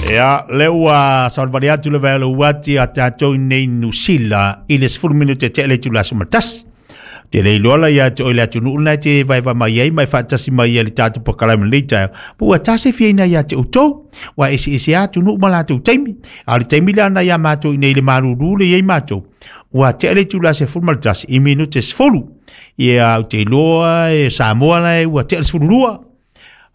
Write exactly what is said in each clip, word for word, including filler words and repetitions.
Ia, le ua savalivali atu le vae o le uati a tatou nei Nusila i le sefulu minute tea le itula aso ma le tasi. Te le iloa la ia te oe le atunuu lena e te vaevae mai ai ma e faatasi mai ai le tatou polokalame i lenei taeao. Po ua tasi fiaina ia te outou, ua eseese lava atunuu ma latou taimi. A o le taimi lea na ia matou i nei le malulu le i ai matou, ua tea le itula sefulu ma le tasi i minute sefulu. Ia, ou te iloa e Samoa la ua tea le sefulu lua.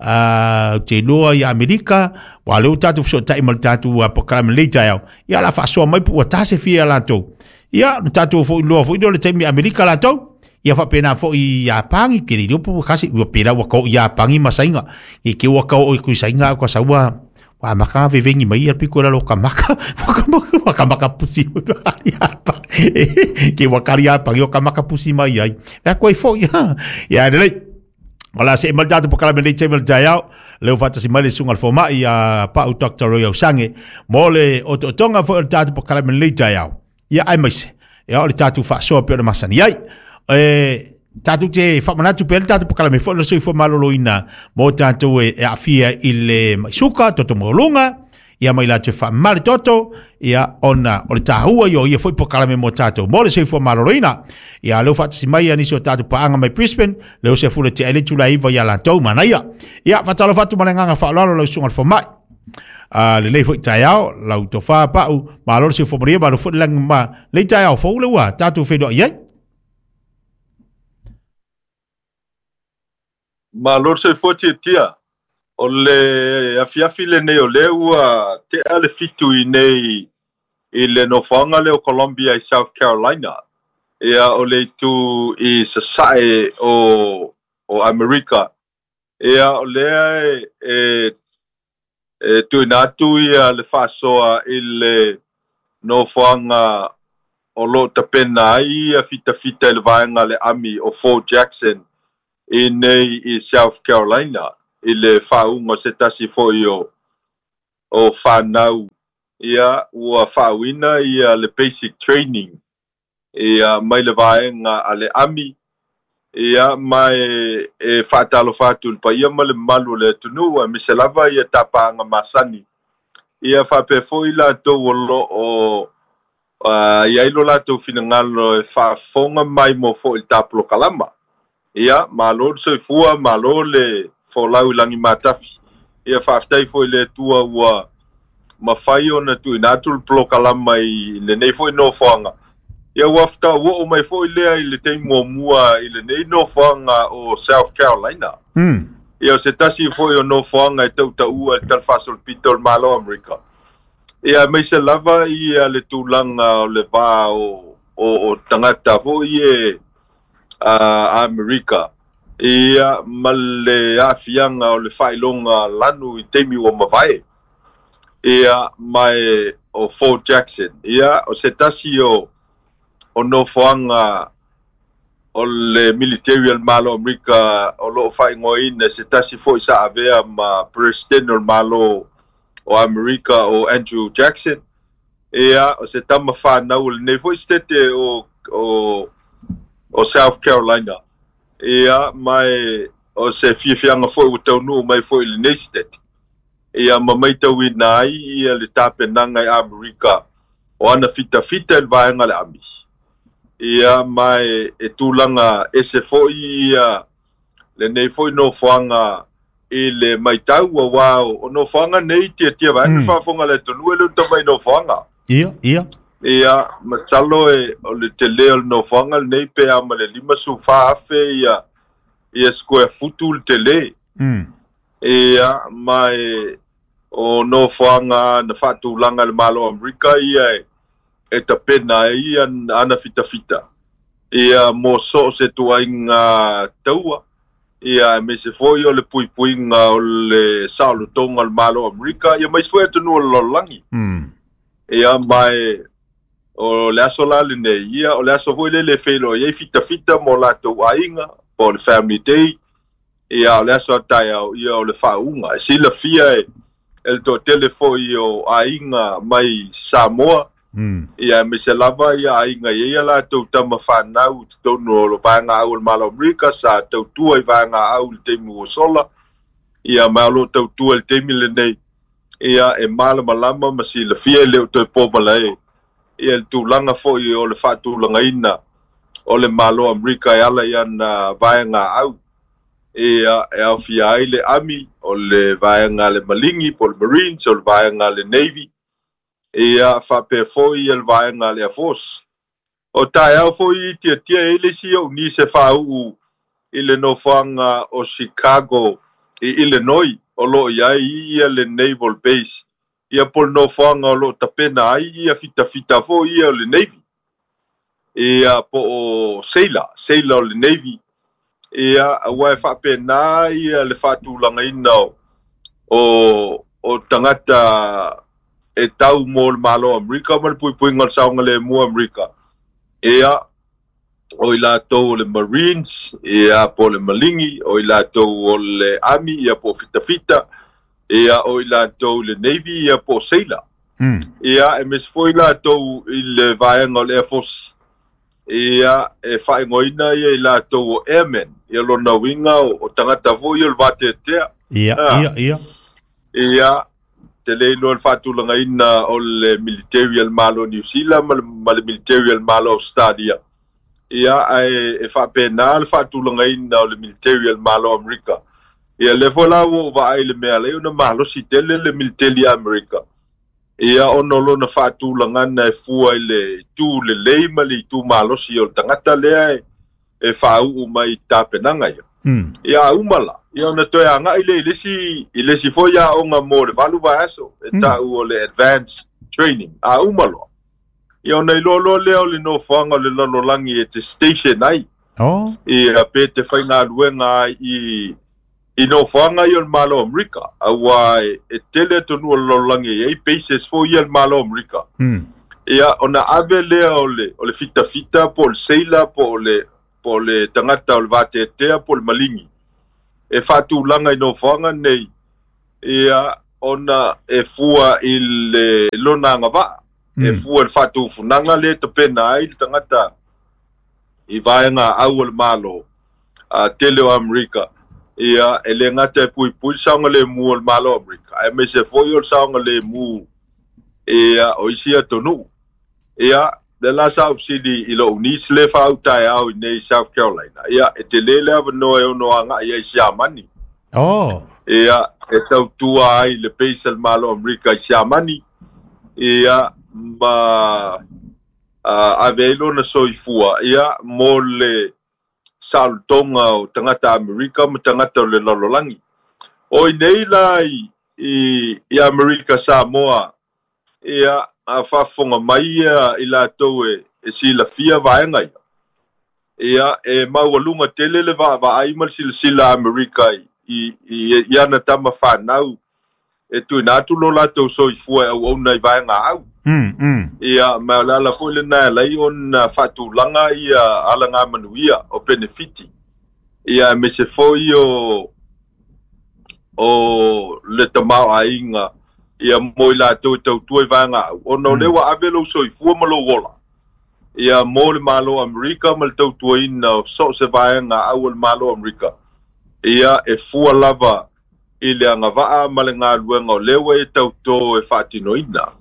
Uh, ou te iloa i Amerika, ua lea ua tatou fesootai ma le tatou polokalame i lenei taeao. Ia, o le a faasoa mai po ua tasi fia latou. Ia, na tatou foi iloa foi lea o le taimi Amerika latou. Ia faapena foi i Iapani, ke le iloa po ua kasi, ua pela ua kau i Iapani ma Saina. I ke ua kau o i kui Saina, ua saua, ua amaka vevengi mai ia piko la lo ka maka, ua ka maka pusi Iapani. Ke ua kari Iapani o ka maka pusi mai ai. Ia koe foi, ia lelei. O la se mal tatou polokalame lenei taimi o le taeao, leo faatasi mai le susuga i le fomai a Pau Doctor Roy Ausange mo le otootoga foi o le tatou polokalame lenei taeao. Ia aemaise, ia o le tatou faasoa pei ona masani ai. E tatou te faamanatu pea le tatou polokalame foi o le soifua maloloina mo tatou e aafia i le maisuka, toto maualuga, ia mai latou e faamama le toto, ia ona o le taua ia o ia foi polokalame mo tatou mo le soifua maloloina. Ia leo faatasi mai ia nisi o tatou paaga mai Brisbane, leo se fule te ai le itula e iva ia latou manaia. Ia faatalofa atu ma le agaga faaaloalo lau susuga i le fomai. Uh, lenei foi taeao, lau tofa Pau, malo le soifua manuia, malo foi le lagi ma lenei taeao fou le ua tatou feiloai ai. Malo le soifua tiatia. O le afiafi lenei o lea ua tea le fitu i nei i le nofoaga lea o Columbia i South Carolina. Ia o le itu i sasae o, o Amerika. Ia o lea e, e, e tuuina atu ia le faasoa i le nofoaga o loo tapena ai ia fitafita i le vaega le ami o Fort Jackson i nei i South Carolina i le faauga se tasi foi o o whanau ia ua faauina ia le basic training ia mai le vaega a le ami ia mai e faatalofa atu i le paia ma le mamalu o le atunuu aemaise lava ia tapaaga masani ia faapea foi latou o loo uh, i ai lo latou finagalo e faafofoga mai mo foi i le tapolokalama. Ia malo le soifua, malo le folau i lagi matafi. Ia faafetai foi i le Atua ua mafai ona tuuina atu le polokalama i lenei foi nofoaga. Ia ua fetaua mai foi lea i le taimi muamua i lenei nofoaga o South Carolina. Mm. Ia o se tasi foi o nofoaga e tautaua i le talafaasolopito o le Malo o Amerika. Ia aemaise lava ia le tulaga o le va o, o, o tagata foi e a Amerika. Ia ma le aafiaga o le faailoga lanu i taimi ua mavae. Ia mai o Fort Jackson. Ia o se tasi o o nofoaga o le military o le Malo o Amerika o loo faaigoaina se tasi foi sa avea ma president o le Malo o Amerika o Andrew Jackson. Ia o se tama whanau o lenei foi state o, o, o South Carolina. Ia mai o se fiafiaga foi ua taunuu mai foi i lenei state. Ia ma maitauina ai ia le tapenaga i Amerika o ana fitafita i le vaega le ami. Ia mai e tulaga ese foi ia lenei foi nofoaga i le maitau auā o nofoaga nei tiatia vaega mm. faafofoga le atunuu e le tamai nofoaga. Ia, ia. Ia, masalo e o le tele o le nofoaga lenei pe a ma le lima su fa afe ia ia square futu le tele. Mm. Ia, mai o nofoaga na faatulaga le Malo o Amerika ia e, e tapena ai ia ana fitafita. Ia mo so o se tuaiga taua. Ia aemaise foi o le puipuiga o le saolotoga o le Malo o Amerika ia maise foi atunuu o le lalolagi. Mm. Ia mai o le aso la lenei ia o le aso foi lele e feiloai ai fitafita mo latou aiga po o le family day. Ia o le aso a taeao ia o le faauga e silafia e e le toatele foi o aiga mai Samoa. Mm. Ia aemaise lava ia aiga i ai ia latou tama whanau i totonu o le vaega au o le Malo o Amerika sa tautua i vaega au i le taimi ua sola. Ia ma o loo tautua i le taimi lenei. Ia e malamalama ma silafia le o toe pomalae. Ia le tulaga foi o le faatulagaina o le Malo Amerika e ala i ana vaega au. Ia e aofia ai le Army, o le vaega le Malingi, po o le Marines, o le vaega le Navy. Ia faapea foi ia le vaega le Air Force. O taeao foi i tiatia e le isi ou nisi e faauu i le nofoaga o Chicago i Illinois, o loo i ai ia le Naval Base. Ia po le nofoaga o loo tapena ai ia fitafita foi ia o le Navy. Ia po o sailor, sailor o le Navy. Ia aua e faapena ia le faatulagaina o, o, o tagata e tau mo le Malo Amerika ma le puipuiga o le saogalemu Amerika. Ia, o i latou o le Marines, ia po le Malingi, o i latou o le Army, ia po fitafita, ia o i latou le Navy, ia po sailor. Mm. Ia, e mes foi latou i le vaega o le Air Force. Ia, e faaigoaina ia i latou o Airmen, ia lona uiga o, o tagata foi o le vateatea. Ia, Ah. ia, ia. Ia, te le iloa le faatulagaina o le military al Malo New Zealand ma le, ma le military al Malo Australia. Ia, ae e faapena le faatulagaina o le military al Malo Amerika. Ia, le foi la ua ou vaai le mea lea ona malosi tele le military Amerika. Ia, ona o lona faatulagana e fua i le itu lelei ma le itu malosi o le tagata lea e, e faauu mai i tapenaga ia. Mm. Ia a uma la, ia ona toe agai le i le isi, i le isi foi aoga mo le valu vaiaso, e Mm. tau o le advanced training, a uma loa. Ia ona iloa loa lea o le nofoaga o le lalolagi e te station ai. Oh. Ia pe te faigaluega ai i, i nofoaga ia o le Malo Amerika. Aua e, e tele atunuu o le lalolagi e i ai bases foi ia le Malo Amerika. Mm. Ia ona ave lea o le, o le fitafita po o le sailor po o le, po o le tagata o le vateatea po o le malingi. E faatulaga i nofoaga nei, ia ona e fua i le lona agavaa. E Mm. fua i le faatufunaga le tapena ai le tagata i vaega au o le Malo, a tele o Amerika. Ia e le gata e puipui le saogalemu o le Malo Amerika, aemaise foi o le saogalemu ia o isi atunuu. Ia, le la sa aufesili i lou nisi le faautaeao i nei South Carolina. Ia, e tele le avanoa e ono agai ai Siamani. Oh. Ia, e tautua ai le base al Malo Amerika i Siamani. Ia, ma uh, ave ai lona soifua. Ia, mo le saolotoga o tagata Amerika ma tagata o le lalolagi. O i nei la i, i, i Amerika Samoa, ia, a faafofoga mai ia i latou e, e silafia vaega ia. Ia, e maualuga tele le vaavaai ma le silasila Amerika i, i, i, i ana tama fanau e tuuina atu lo latou soifua e auauna i vaega au. Mm, mm. Ia, ma o le ala foi lena e alai ona faatulaga ia alagamanuia o penefiti. Ia, aemaise foi o, o le tamaoaiga ia mo i latou e tautua i vaega au. Ona o lea ua ave lou soifua ma lou ola. Ia mo le Malo Amerika ma le tautuaina o so o se vaega au o le Malo Amerika. Ia e fua lava i le agavaa ma le galuega o lea ua e tautō e faatinoina.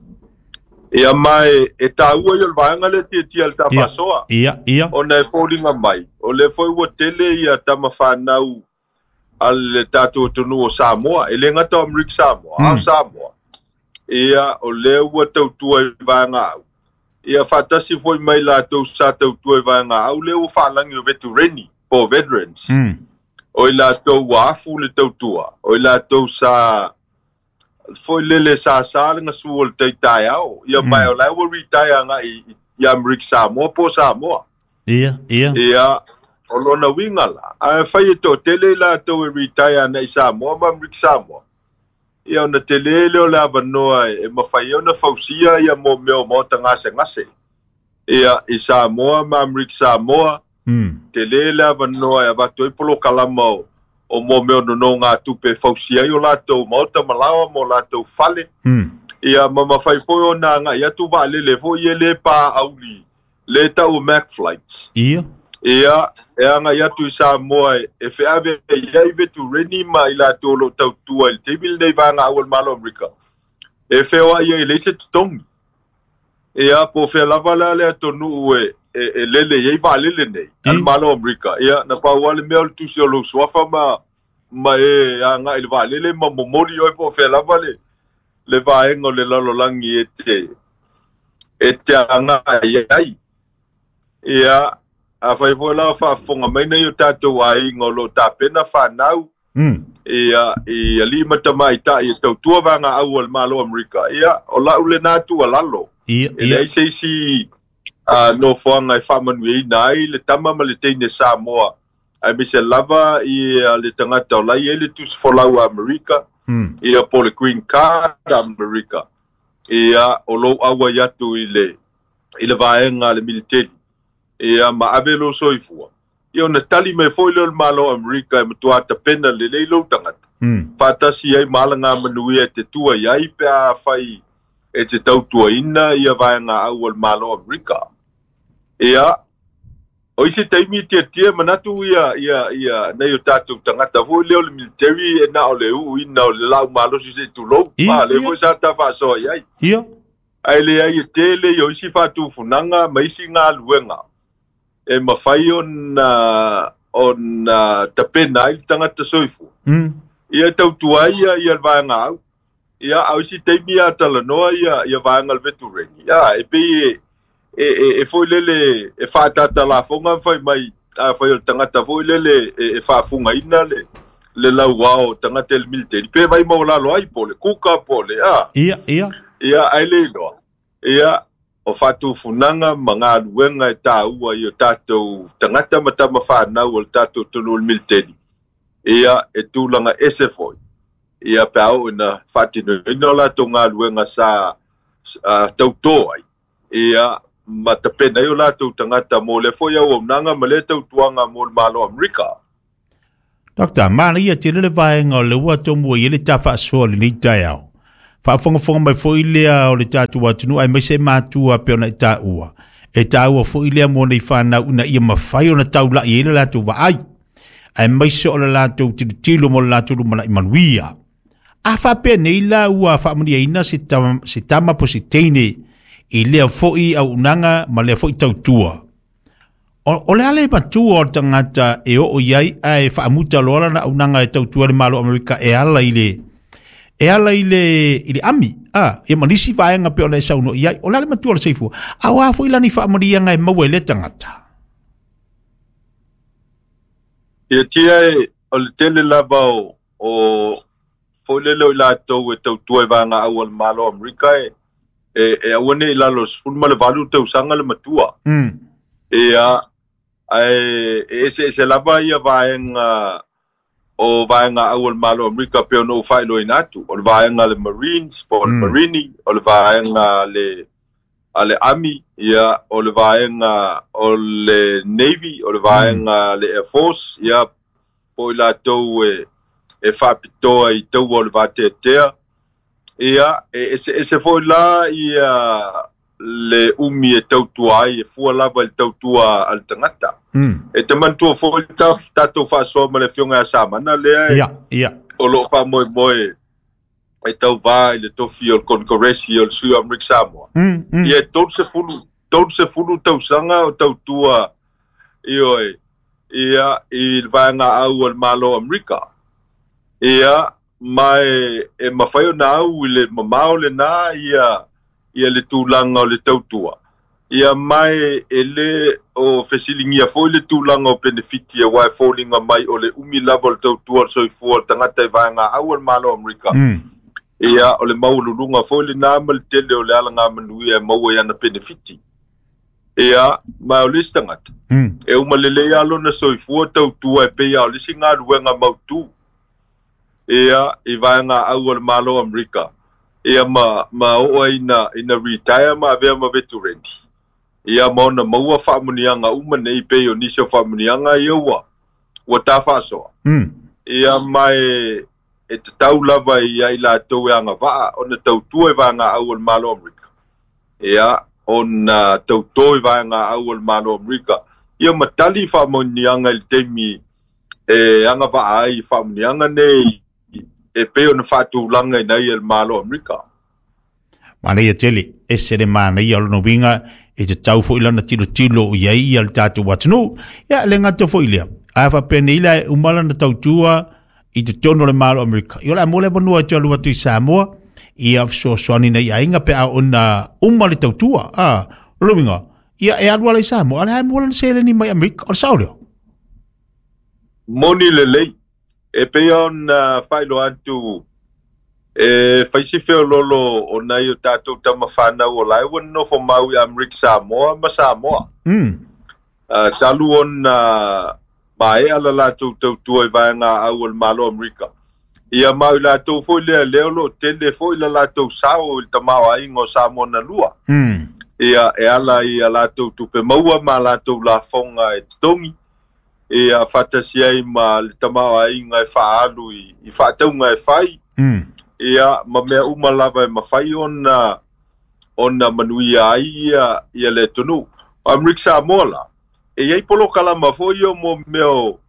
Ia mai e taua ia o le vaega lea tiatia le tafasoa. Ia, ia. Ona e foliga mai, o lea foi ua tele ia tamafanau a le tatou atunuu o Samoa. E le gata o Amerika Samoa, Mm. a o Samoa. Ia, o lea ua tautua i vaega au. Ia faatasi foi mai latou sa tautua i vaega au, lea ua faalagi o veterani, po o veterans. Mm. O i latou ua afu le tautua. O i latou sa foi lele sa sa le gasu o le taitaeao. Ia mai o la ua retire agai i, i Amerika Samoa po o Samoa. Ia, ia. Ia, o lona uiga la. Ae fai e toatele i latou e retire agai i Samoa ma Amerika Samoa. Ia ona tele lea o le avanoa e, e mafai ai ona fausia ia mo mea o maota gasegase. Ia, i Samoa ma Amerika Samoa, Mm. tele le avanoa e avatu ai polokalama o, o mo mea o nonogatupe e fausia ai o latou maota malaoa ma o latou fale. Mm. Ia, ma mafai foi ona agai atu vaalele foi ia le pa auli, le tau o Mac Flights. Ia. Ia, e agai atu i Samoa e, e feave i ai vetureni ma i latou o loo tautua i le taimi lenei vaega au o le Malo Amerika. E feoai ai le se totogi. Ia po fea lava la le atunuu e e, e lele i ai vaalele nei a le Malo o Amerika. Ia na pau lava le mea o le tusi o lou suafa ma ma e agai i le vaalele ma momoli oe po o fea lava le le vaega o le lalolagi e te e te agai ai. Ia afai foi la o faafofoga mai nei o tatou aiga o loo tapena fanau Mm. ia i alii ma tamaitai e tautua vagaau o le Malo o Amerika. Ia o lau lena tuualalo Ia, e ia. leai se isi a nofoaga e faamanuiaina ai le tama ma le teine Samoa aemaise lava ia le tagata o lai ai le tusi folau a Amerika Mm. ia po le green card a Amerika. Ia o lou auai atu i le i le vaega a le militeli ia ma ave lou soifua. Ia ona tali mai foi lea o le Malo o Amerika e matuā tapena lelei lou tagata. Mm. Faatasi ai ma alagamanuia e te tua iai pe afai e te tautuaina ia vaega au o le Malo o Amerika. Ia o isi taimi tiatia manatu ia ia ia nei o tatou tagata foi lea o le military e na o le uuina o le lau malosi se'i tulou. Ia, A le ia. foi sa tafaasoa iai. Ia. Ae leai e tele i o isi faatufunaga ma isi galuega e mafai ona ona tapena ai le tagata soifua. Mm. Ia e tautua ai ia ia le vaega au. Ia a o isi taimi a talanoa ia ia vaega o le vetureni. Ia e pei e e e, e foi lele e faatatalafoga ma fai mai afai o le tagata foi lele e, e faafugaina le le lauao o tagata i le militeli pe vai maualalo ai po o le kuka po o le a. Ia, ia. Ia ae le iloa. Ia o faatufunaga ma galuega e tāua i o tatou tagata ma tamafanau o le tatou atunuu i le militeli. Ia e tulaga ese foi. Ia pe a oo ina faatinoina o latou galuega sa uh, tautō ai. Ia ma tapena ai o latou tagata mo le foi auaunaga ma lea tautuaga mo le Malo o Amerika. Doctor, mana ia tele le vaega o le ua tomua i le tafaasoa lenei taeao. Faafogafoga mai foi lea o le tatou atunuu aemaise matua pei ona i taua. E taua foi lea mo nei fanau ina ia mafai ona taulai ai le latou vaai. Aemaise o le latou tilotilo mo le latou lumanai manuia. A faapea nei la ua faamanuiaina se tama, se tama po o se teine i lea foi auaunaga ma lea foi tautua. O, o le a le matua o le tagata e oo iai ae faamuta loa lana auaunaga e tautua le Malo o Amerika e ala i le e ala i le i le ami a ia ma nisi vaega pei ona e saunoa iai. O le a le matua o le soifua auā foi lani faamanuiaga e maua i lea tagata. Ia tia e o le tele lava o o foi lele o i latou e tautua i vaega au a le Malo o Amerika e e, e aua nei i lalo o le sefulu ma le valu tausaga le matua. Mm. Ia ae e eseese lava ia vaega o vaega au o le Malo o Amerika pei ona ou faailoaina atu. O le vaega a le Marines po o le Mm. Marini, o le vaega a le a le Army, ia o le vaega o le Navy, o le vaega a le Air Force, ia po i latou e e faapitoa i taua o le vateatea. Ia e eseese foi la ia le umi e tautua ai e fua lava i le tautua a le tagata. Mm. E te manatua foi le tatou faasoa ma le afioga ia Samana lea e Ia, ia. o loo faamoemoe e tauvā i le tofi o le Konekaresi o le sui o Amerika Samoa. Mm, mm. Ia e tolu sefulu tolu sefulu tausaga o tautua ioe ia i le vaega au o le Malo o Amerika. Ia ma e, e mafai ona au i le mamao lenā ia ia le tulaga o le tautua. Ia mae e le o fesiligia foi le tulaga o penefiti auā e foliga mai o le umi lava o le tautua o le soifua o le tagata i vaega au o le Malo o Amerika. Mm. Ia o le maualuluga foi lenā ma le tele o le alagamanuia e maua i ana penefiti. Ia ma o le isi tagata Mm. e uma lelei lava lona soifua tautua e pei a o le isi galuega mautū. Ia i vaega au o le Malo o Amerika. Ia ma ma oo ai ina ina retire ma avea ma vetureni. Ia ma ona maua faamanuiaga uma nei pei o nisi o faamanuiaga ia ua ua tafaasoa. Mm. Ia ma e e tatau lava ia i latou e agavaa ona tautua i vaega au o le Malo o Amerika. Ia ona tautō i vaega au o le Malo o Amerika. Ia ma tali faamanuiaga i le taimi e agavaa ai i faamanuiaga nei e pei ona faatulaga ina ia le Malo o Amerika. Manaia tele, ese le manaia o lona uiga e tatau fo'i lana tilotilo i ai ia le tatou atunuu. Ia le gata fo'i lea, ae faapenei la e uma lana tautua i totonu o le Malo o Amerika. Ia o le a mo le avanoa e toe alu atu i Samoa, ia fesoasoani nei aiga pe a ona uma le tautua. A, o lona uiga, ia e alu ala i Samoa, a o le a e maua lana seleni mai Amerika, o le sao lea. Moni lelei, e pei ona faailoa atu e fai si feoloolo o nai o tatou tamafanau o lae ua nonofo mau i Amerika Samoa ma Samoa. Mm. Uh, talu ona maea la latou tautua i vaega au o le Malo o Amerika. Ia ma i latou foi lea lea o loo tele foi la latou sao i le tamaoaiga o Samoa na lua. Mm. Ia e ala i a latou tupe maua ma latou lafoga e totogi. Ia faatasi ai ma le tamaoaiga e faaalu i, i faatauga e fai. Mm. Ia ma mea uma lava e mafai ona ona manuia ai ia, ia le atunuu. O Amerika Samoa la, e iai polokalama foi ia mo mea o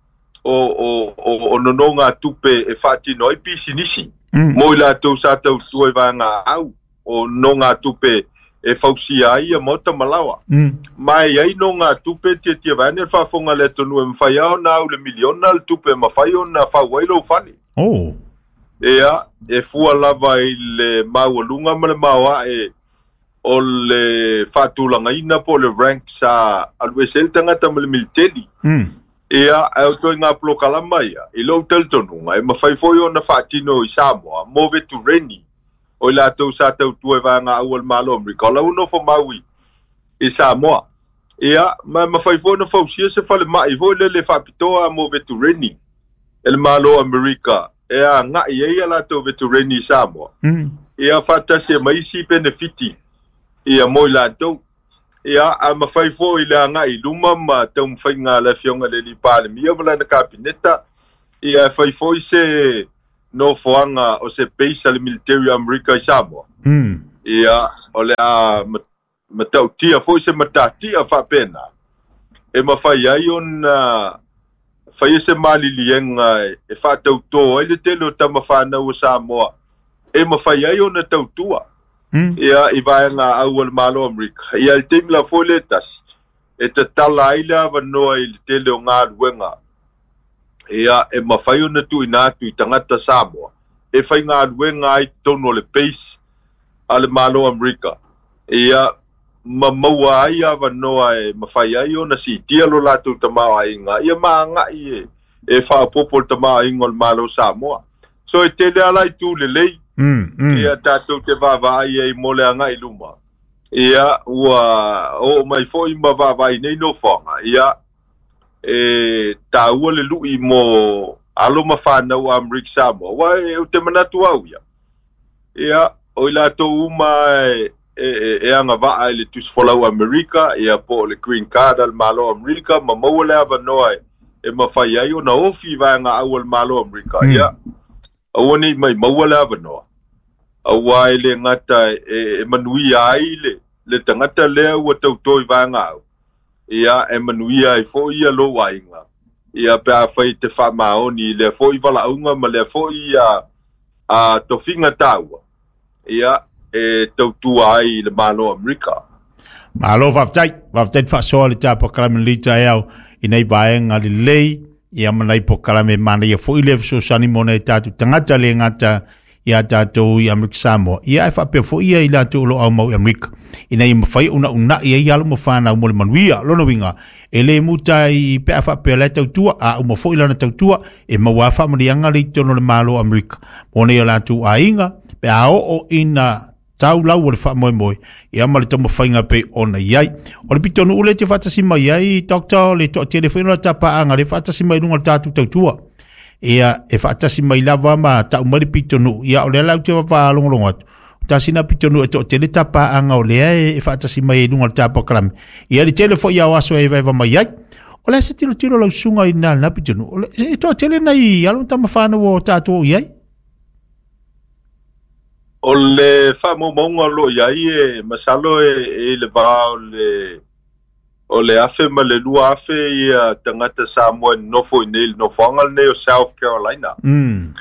o o o, o nonoga tupe e faatino ai pisinisi. Mm. Mo i latou sa tautua i vaega au o nonoga tupe e fausia ai ia maota malawa. Mm. Ma e iai nonoga tupe tiatia vaeane le faafofoga le atunuu e mafai lava ona au le miliona le tupe e mafai ona fau ai lou fale. Oh. Ia, e fua lava i le maualuga ma le maoae o le faatulagaina po o le rank sa alu ese ai le tagata ma le militeli. Mm. Ia, ae o toaiga polokalama ia, i lou talitonuga, e mafai foi ona faatino i Samoa, mo vetureni, o i latou sa tautua i vaega au o le Malo o Amerika, o la ua nofo mau i, i Samoa. Ia, ma e mafai foi ona fausia se falemai foi lele faapitoa mo vetureni e le Malo o Amerika, e aga'i ai ia latou vetureni i Samoa. Mm. Ia faatasi e ma isi penefiti ia mo i latou. Ia, a mafai foi le aga'i i luma ma taumafaiga a le afioga i le alii Palemia ma lana kapineta, ia e fai foi se nofoaga o se base a le military o Amerika i Samoa. Mm. Ia, o le a matautia foi se matatia faapena e mafai ai ona faia se maliliega e faatautō ai le tele o tamafanau o Samoa e mafai ai ona tautua. Mm. Ia, i vaega au o le Malo o Amerika. Ia, i le taimi la foi le tasi, e tatala ai le avanoa i le tele o galuega. Ia, e mafai ona tuuina atu i tagata Samoa e faigaluega ai totonu o le base a le Malo o Amerika. Ia, ma maua ai avanoa e mafai ai ona siitia lo latou tamaoaiga, ia ma aga'i e, e faaopoopo le tamaoaiga o le Malo o Samoa. So e tele ala itu lelei, Mm, mm. ia tatou te vaavaai ai mo le aga'i luma. Ia, ua oo mai foi ma vaavaai nei nofoaga, ia, e taua le lu'i mo alo ma fanau a Amerika Samoa. Ua e ou te manatu au ia. Ia, o i latou uma e, e, e, e agavaa i le tusifolau Amerika, ia po o le green card a le Malo o Amerika, ma maua le avanoa e, e mafai ai ona ofi i vaega au o le Malo o Amerika. Mm. Ia, aua nei mai maua le avanoa. Auā e le gata e, e manuia ai le, le tagata lea ua tautō i vaega au. Ia, e manuia ai foi ia lou aiga. Ia, pe afai te faamaoni i lea foi valaauga ma lea foi a, a tofiga taua. Ia, e tautua ai i le Malo o Amerika. Malo faafetai, faafetai le faasoa le tapokalamu i lenei taeao i nei vaega lelei, ia ma nai polokalame manaia foi le fesoasoani mo nai tatou tagata le gata ia tatou i Amerika Samoa. Ia e faapea foi ia i latou o lo o aumau i Amerika, ina ia mafai ona una'i ai alo ma fanau mo le manuia. Lona uiga, e le muta i pe a faapea la e tautua, a uma foi lana tautua, e maua faamanuiaga le i totonu o le Malo o Amerika mo nei o latou aiga, pe a oo ina tau lau o le faamoemoe, ia ma le taumafaiga pei ona i ai. O le pitonuu le te faatasi mai ai, Doctor, le toatele foi ona tapaaga le faatasi mai luga o le tatou tautua. Ia, e faatasi mai lava ma tau mai le pitonuu. Ia, o lea la ou te vapaalogologo atu. O tasina pitonuu e toatele tapaaga o lea e faatasi mai ai luga o le tapokalamu. Ia, le tele foi ao aso e evaeva mai ai. O le se tilotilo lau susuga i lena lena pitonuu. O le e toatele nai alo ma tamafanau o tatou i ai. O le faamaumauga o loo i ai e masalo e, e i le va o le o le afe ma le lua afe ia tagata Samoa e nonofo i nei le nofoaga lenei o South Carolina. Mm.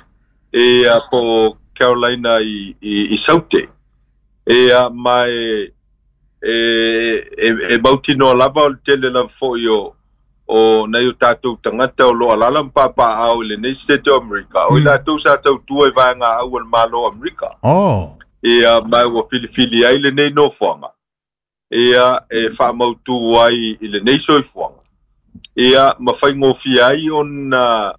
Ia po Carolina i, i, i Saute. Ia mai e e e mautinoa lava o le tele lava fo'i o o nai o tatou tagata o lo alala ma papaaao i lenei Setete o Amerika o i latou sa tautua i vaegaau a le Malo o Amerika. Oh. Ia mai ua filifili ai lenei nofoaga ia e faamautū ai i lenei soifuaga ia ma faigofie ai ona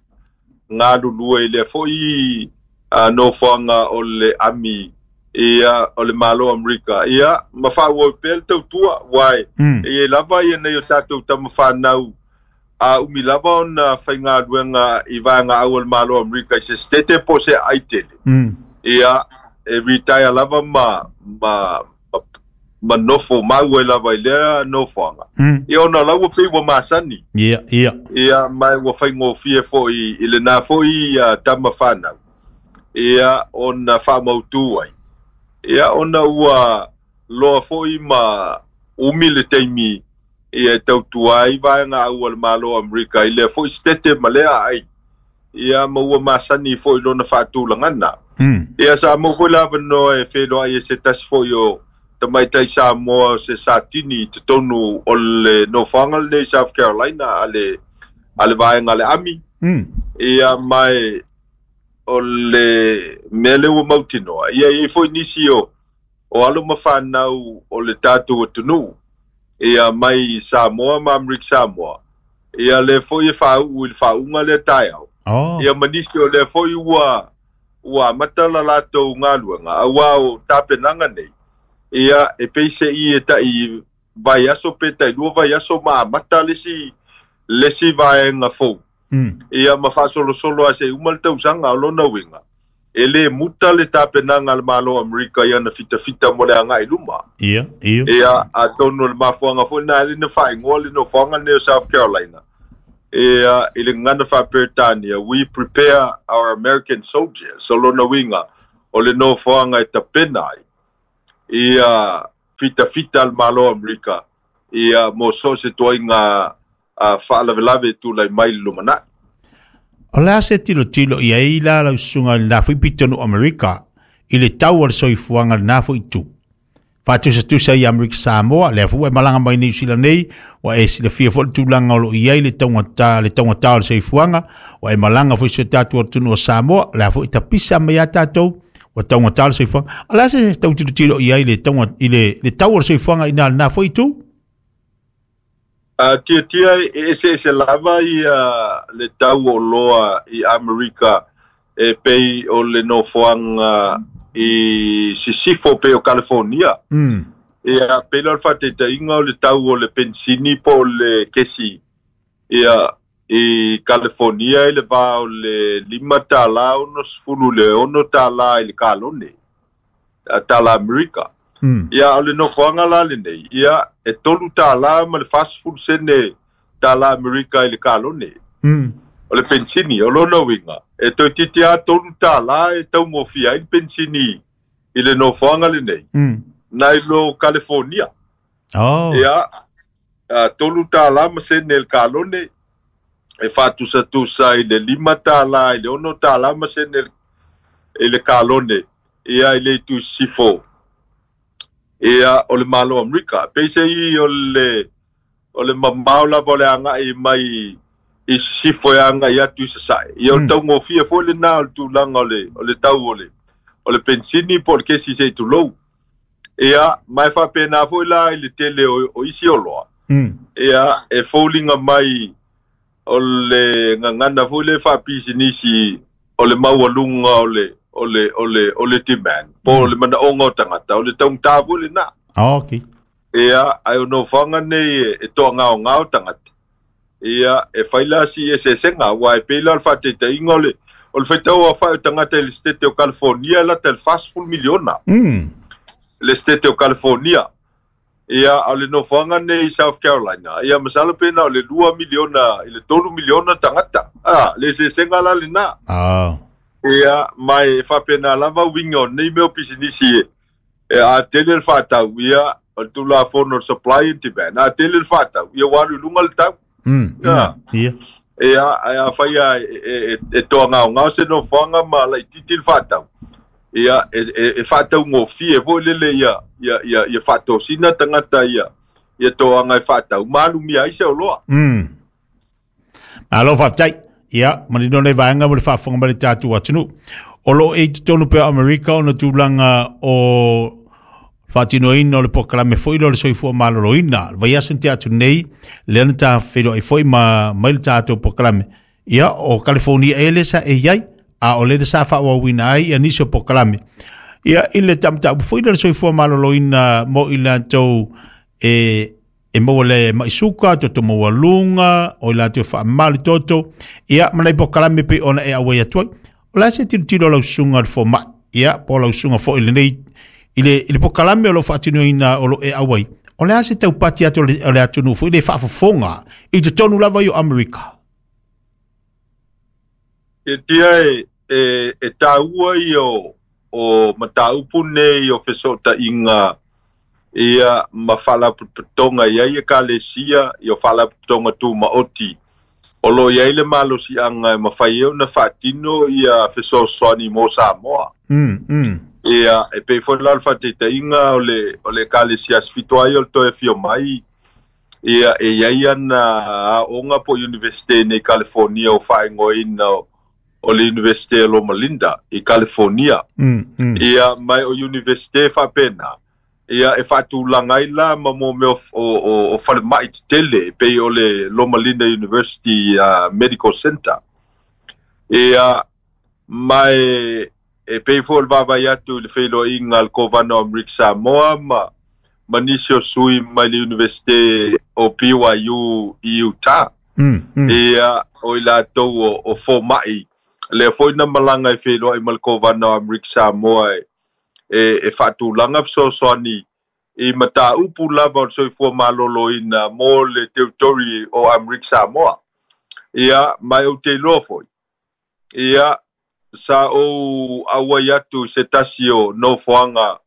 galulue i lea fo'i nofoaga o le ami ia o le Malo o Amerika ia ma faaauau pea le tautua uae Mm. e iai lava ia nei o tatou tamafanau a umi lava ona faigaluega i vaegaau a le Malo o Amerika i se setete po o se aai tele Mm. ia e retire lava ma ma ma, ma nofo mau ai lava i lea nofoaga Mm. ia ona o la ua pei ua masani Ia, ia. ia mai ua faigofie fo'i i lenā fo'i uh, tamafanau ia ona faamautū ai ia ona ua loa fo'i ma umi le taimi ia e tautua ai vaegaau a le Malo o Amerika i lea fo'i setete ma lea aai ia ma ua masani fo'i lona faatulagana Mm. ia sa maua foi le avanoa e feloai e se tasi fo'i o tamaitai Samoa o se satini i totonu o le nofoaga lenei South Carolina a le a le vaega a le ami Mm. ia mai o le mea lea ua mautinoa ia e i ai foi nisi o o alo ma fanau o le tatou atunuu ia mai Samoa ma Amerika Samoa ia lea foi e faauu i le faauga lea taeao Oh. ia ma nisi o lea foi ua ua amata la latou galuega auā o tapenaga nei ia e pei se'i e ta'i vaiaso pe ta'ilua vaiaso ma amata le isi le isi vaega fou Mm. ia ma faasolosolo a se'i uma le tausaga o lona uiga e lē muta le tapenaga a le Malo o Amerika ia na fitafita mo le aga'i luma Ia, ia. ia atonu o le mafuaga foi lena e na faaigoa le nofoaga lenei o South Carolina ia i le gagana faaperetania we prepare our American soldiers o lona uiga o le nofoaga e tapena ai ia fitafita a le Malo o Amerika ia mo so o se toaiga a faalavelave e tulai mai le lumana'i. O le a se tilotilo i ai la lau susuga i lenā fo'i pitonu Amerika i le tau o le soifuaga lenā fo'i itu. Faatusatusa i Amerika Samoa, lea foi ua e malaga mai Niu Sila nei, ua e silafia foi le tulaga o loo i ai le taugatā le taugatā o le soifuaga, ua e malaga foi i si o tatou atunuu o Samoa, lea foi tapisa mai a tatou, ua taugatā le soifuaga. O le a se tau tilotilo i ai le tauga i le, le tau o le soifuaga i na lenā foi itu? Uh, tiatia e eseese lava ia le tau o loa i Amerika e pei o le nofoaga i sisifo pei o California. Mm. Ia pei la o le faataitaiga o le tau o le pensini po o le kesi ia i California i le va o le lima tālā ono sefulu le ono tālā i le kalone a tālā Amerika. Mm. Ia o le nofoaga la lenei ia e tolu tālā ma le fasefulu sene tālā Amerika i le kalone Mm. o le pensini o lona uiga e toeitiiti a tolu tālā e taugofie ai le pensini i le nofoaga lenei Mm. nai lo California. Oh. Ia a tolu tālā ma sene le kalone e faatusatusa i le lima tālā i le ono tālā ma sene i le kalone ia i le itu sisifo ia o le Malo o Amerika. Peise'i o le o le mamao lava o le aga'i mai i sisifo e aga'i atu i sasae ia o le Mm. taugofie foi lenā o le tulaga o le o le tau o le o le pensini po o le kesi se'i tulou ia ma e faapenā foi la i le tele o, o isi oloa Mm. ia e foliga mai o le gagana foi le faapisinisi o le maualuga o le o le o le o le demand po o le manaoga o tagata o le taugatā foi lenā Oh, okay. ia ae o nofoaga nei e, e toagaogao tagata ia e fai la si eseesega uā e pei la o le faataitaiga o le o le faitau afa'i o tagata i le setete o California e lata i le fasefulu miliona Mm. le setete o California ia a o le nofoaga nei i South Carolina ia masalo pe na o le lua miliona i le tolu miliona tagata a le eseesega la lenā Oh. ia mai e faapena lava uiga o nei mea o pisinisi e e a tele le faatau ia o le tulafono o le supply and demand a tele le faatau ia ua alu i luga le tau Mm. Ia. Mm. Ia. ia ae afai a e, e, e toagaogao se nofoaga ma laititi le faatau Ia e e, e whaataungofie foi lele ia ia ia ia whaatosina tangata ia ia toanga e whaatau malumia ai se oloa. Mm. Malo whaatai. Ia manino le vaenga mo le faafofoga mai le tatou atunuu. O lo e totonu pea Amerika ona tulaga o faatinoina o le polokalame foi lea o le soifua maloloina. Le vaiaso na tea atu nei, lea na tafeiloai foi ma mai le tatou polokalame. Ia, o California e le sa e iai, a o le sa faauauina ai ia nisi o polokalame. Ia, i le tamataupu foi lea o le soifua maloloina mo i latou e e maua le maisuka, toto maualuga, o i latou faamamalu toto, ia, ma nai polokalame pei ona e auai atu ai. O le a se tilotilo o lau susuga i le fomai, ia, po o lau susuga foi i lenei, i le, i le polokalame o lo o faatinoina o lo e auai, o le a se taupati atu o le, o le atunuu foi le faafofoga i totonu lava i o Amerika. E tia e, e, e tāua i o, o mataupu nei o fesootaiga ia ma faalapotopotoga i ai ekalesia i o faalapotopotoga tumaoti. O lo o i ai le malosiaga e mafai ai ona faatino ia fesoasoani mo Samoa. Mm, mm. Ia, e pei foi la o le faataitaiga o le, o le ekalesia aso ai o le toe afio mai, ia, e i ai ana aoga po o Universite nei California o faaigoaina o, o le Universite o Loma Linda i California. Mm, mm. Ia, mai o Universite faapena, ia, e faatulaga ai la ma mo mea o, o, o, o falemai tetele, e pei o le Loma Linda University uh, Medical Center. Ia, mai e pei foi o le vaavaai atu i le feiloaiga a le Kovana o Amerika Samoa ma ma nisi o sui mai le Universite o B Y U i Utah. Mm, mm. Ia, o i latou o, o fomai. Lea foi na malaga e feiloai ma le Kovana o Amerika Samoa e, e, e faatulaga fesoasoani i mataupu lava o le soifua maloloina mo le territory o Amerika Samoa. Ia, mai ou te iloa foi. Ia, sa ou auai atu i se tasi o nofoaga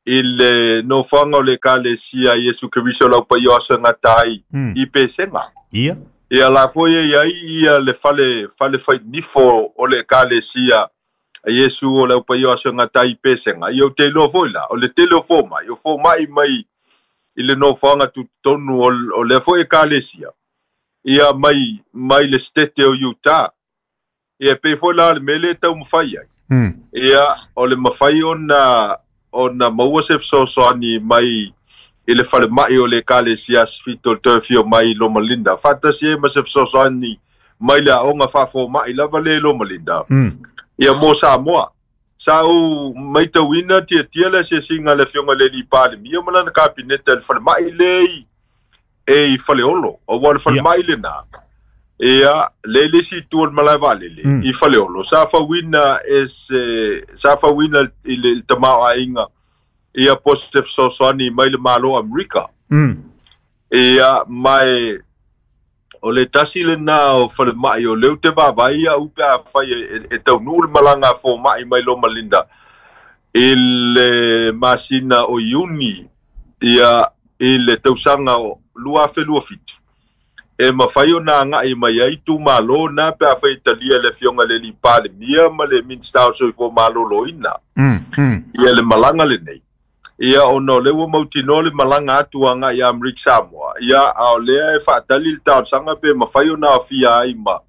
i le nofoaga o le ekalesia Iesu Keriso o le Aupaia o Aso e Gata ai Mm. i Pesega. Ia. Ia la foi e iai ia le fale, fale fainifo o le ekalesia a Iesu o le Aupaia o Aso e Gata ai i Pesega. Ia ou te iloa foi la, o le tele o fomai, o fomai mai i le nofoaga tutotonu o, o lea foi ekalesia. Ia mai, mai le stete o Utah. Ia pei foi la le mea lea e taumafai ai. Mm. Ia, o le mafai ona, ona maua se fesoasoani mai i le falemai o le ekalesia aso fitu o le toe afio mai i Loma Linda. Faatasi ai ma se fesoasoani mai le aoga faafomai lava le i Loma Linda. Mm. Ia mo Samoa. Sa ou maitauina tiatia le asiasiga a le afioga i le alii Palemia ma lana kapineta i le falemai le i e i Faleolo. Aua le falemai lena. Ia, le le isi itu o le malae vaalele Mm. i Faleolo. Sa fauina e se, sa fauina i le tamaoaiga ia po se fesoasoani mai le Malo Amerika. Mm. Ia, mai o le tasi lena o falemai o lea ou te vaavaai au pe afai e, e, e taunuu le malaga a fomai mai Loma Linda i le masina o Iuni ia i le tausaga o lua afe lua fitu. E mafai ona agai mai ai itumalo na pe afai e talia le afioga i le alii Palemia ma le Minista o Soifua Maloloina. Mm, mm. Ia le malaga lenei. Ia ona o lea ua mautinoa le malaga atu agai ia Amerika Samoa. Ia a o lea e faatali le talosaga pe mafai ona aofia ai ma,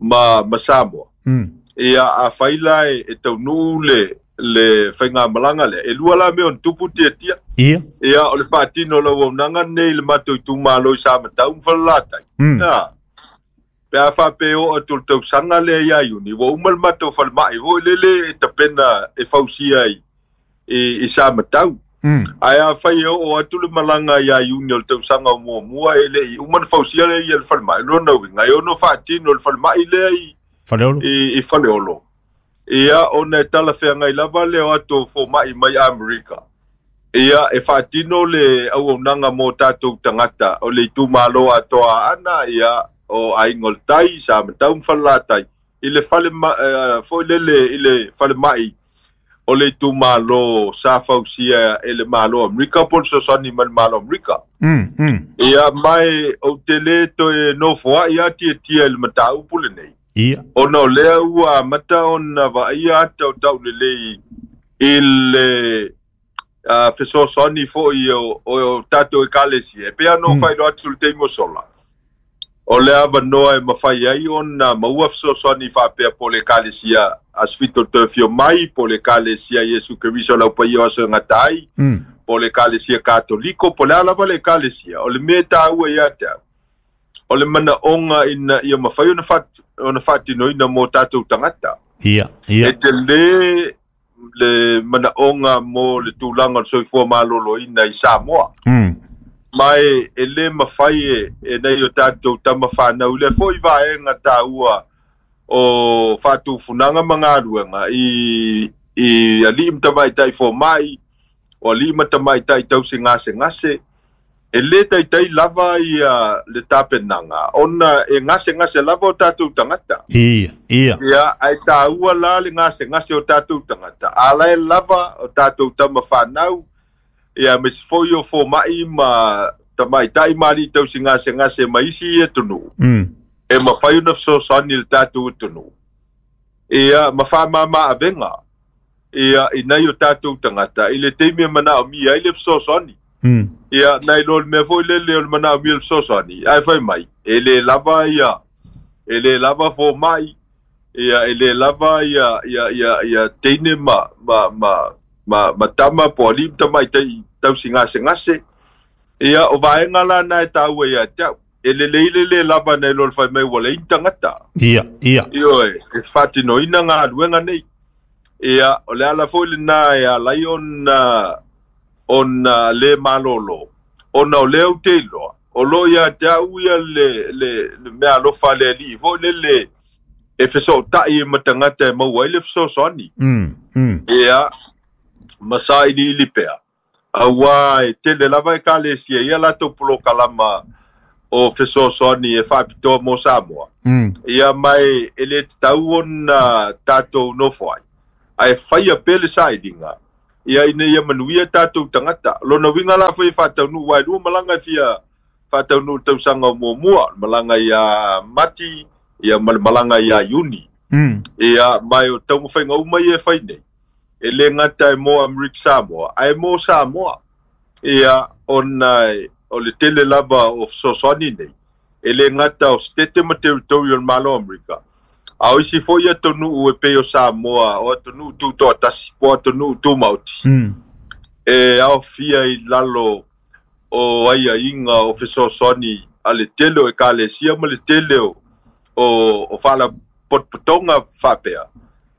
ma, ma Samoa. Mm. Ia afai la e, e taunuu le, le faigamalaga lea. E lua la mea ona tupu tiatia. Ia. Ia, o le faatino o le auaunaga lenei i le matou itumalo i Samatau ma Falelatai. Mm. Ia, pe a faapea oo atu le tausaga lea ia Iuni, ua uma le matou falemai foi lele e tapena e fausia i, i, i Samatau. Mm. Ae afai e oo atu le malaga ia Iuni o le tausaga o muamua e le'i uma na fausia lea ia le falemai. Lona uiga, e ono faatino le falemai lea i, Faleolo. i, i Faleolo. Ia, ona e talafeagai lava le o atu o fomai mai Amerika. Ia, e faatino le auaunaga mo tatou tagata o le itumalo atoa ana, ia, o Aiga o le Tai, Samatau ma Falelatai, i le fale ma, uh, foi lele i le falemai o le itumalo sa fausia e le Malo Amerika po o le fesoasoani mai le Malo Amerika. Mm, mm. Ia, mai ou te le toe nofoai a tiatia i le mataupu lenei. Ia. Ona o lea ua amata ona vaaia ata o taulelei i le uh, fesoasoani foʻi o, o tatou ekalesia. E pei ona ou Mm. faailoa atu le taimi o sola. O le avanoa e mafai ai ona maua fesoasoani faapea po le ekalesia Asifito Toe Fio Mai, po le ekalesia Iesu Keriso lau paia o aso e gata ai, Mm. po le ekalesia Katoliko, po le a lava le ekalesia. O le mea e taua ia te au, o le manaoga ina ia mafai ona faat- ona faatinoina mo tatou tagata. Ia, E ia. tele le manaoga mo le tulaga o le soifua malōlōina i Samoa. Mm. Ma e, e lē mafai e, e nei o tatou tamafanau i lea foʻi vaega taua o faatufunaga ma galuega i, i alii ma tamaitai fomaʻi o alii ma tamaitai tausigasegase e lē taitai lava ia le tapenaga ona e gasegase lava o tatou tagata. Ia, ia. Ia, ae taua la le gasegase o tatou tagata. A lae lava o tatou tamafanau, ia me se foʻi o fomaʻi ma tamaitai ma alii tausigasegase ma isi atunuu. Mm. E mafai ona fesoasoani i le tatou atunuu. Ia, ma faamāmā avega. Ia, i nai o tatou tagata, i le taimi e manaomia ai le fesoasoani. Mm. Ia, nai lo le mea foʻi lele o le manaomia le fesoasoani. Ae fai mai, e lē lava ia, e lē lava fomaʻi, ia, e lē lava ia, ia, ia, ia teine ma, ma, ma, ma, ma tama po alii ma tamaitai tausigasegase. Ia, o vaega lana e taua ia te au. E lelei le lē lava nai lo le fai mai ua leai ni tagata. Ia, ia. Ioe, e faatinoina galuega nei. Ia, o le ala foʻi lenā e alai ona ona lē malōlō. Ona o lea ou te iloa. O loo ia te au ia le, le, le mea alofa a le alii foʻi lele e fesootaʻi e ma tagata e maua ai le fesoasoani. Mm. Mm. Ia, ma sailiili pea. Auā e tele lava ekalesia ia latou polokalama o fesoasoani e faapitoa mo Samoa. Mm. Ia mai e lē tatau ona tatou nofo ai. Ae faia pea le sailiga. Ia ina ia manuia tatou tagata. Lona uiga la foi e faataunuu ai lua malaga e fia faataunuu tausaga o muamua. Malaga ia Mati, ia ma le malaga ia Iuni. Mm. Ia, mai o taumafaiga uma ia e fai nei. E lē gata e mo Amerika Samoa, ae mo Samoa. Ia, ona e, o le tele lava o fesoasoani nei. E lē gata o Setete ma Territory o le Malo Amerika. A o isi foʻi atunuu e pei o Samoa, o atunuu tutoatasi, po o atunuu tumaoti. Mm. E aofia i lalo o aiaiga o fesoasoani a le tele o ekalesia ma le tele o, o, o faalapotopotoga faapea.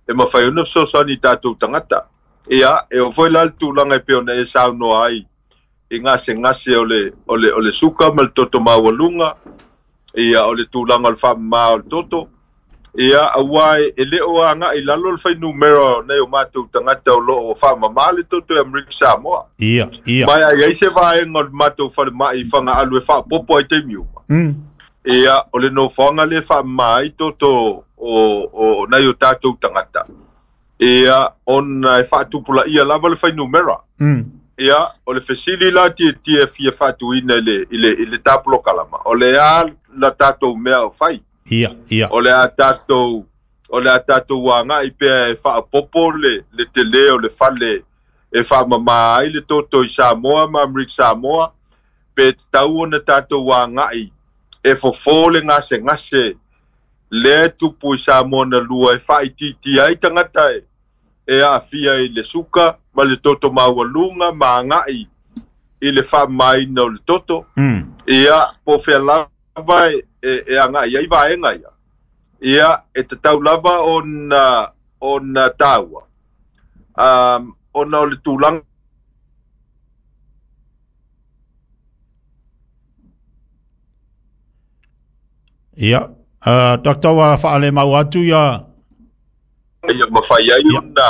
E mafai ona fesoasoani i tatou tagata. Ia, e oo foi la le tulaga e pei ona e saunoa ai i gasegase o le, o le, o le suka ma le toto maualuga, ia, o le tulaga o le faamamā o le toto. Ia, auā e, e lē o agaʻi lalo le fuainumera nei o matou tagata o loo faamamā le toto e Amerika Samoa. Ia, ia. Mai ai ai se vaega o le matou falemai i Fagaalu e faapopo ai taimi uma. Mm. Ia, o le nofoaga lē faamamā ai toto o, o, nai o tatou tagata. Ia, ona e faatupulaia lava le fuainumera. Mm. Ia, o le fesili la tietie fia faatuina i le, i le, i le tapolokalama. O le a la tatou mea o fai. Ia, ia. O le a tatou, o le a tatou agaʻi pea e faapopo le, le telē o le fale e faamamā ai le toto i Samoa ma Amerika Samoa, pe tatau ona tatou agaʻi e fofō le gasegase lea e tupu i Samoa na lua e faaitiitia ai tagata e, e aafia i le suka ma le toto maualuga ma agaʻi i le faamamaina o le toto. Mm. Ia, po o fea lava e, e, e agaʻi ai vaega ia. Ia, e tatau lava ona, ona taua. Um, ona o le tulaga Ia. Uh, Doctor wa faale mau atu ia. Ia mafai ai Ia. ona,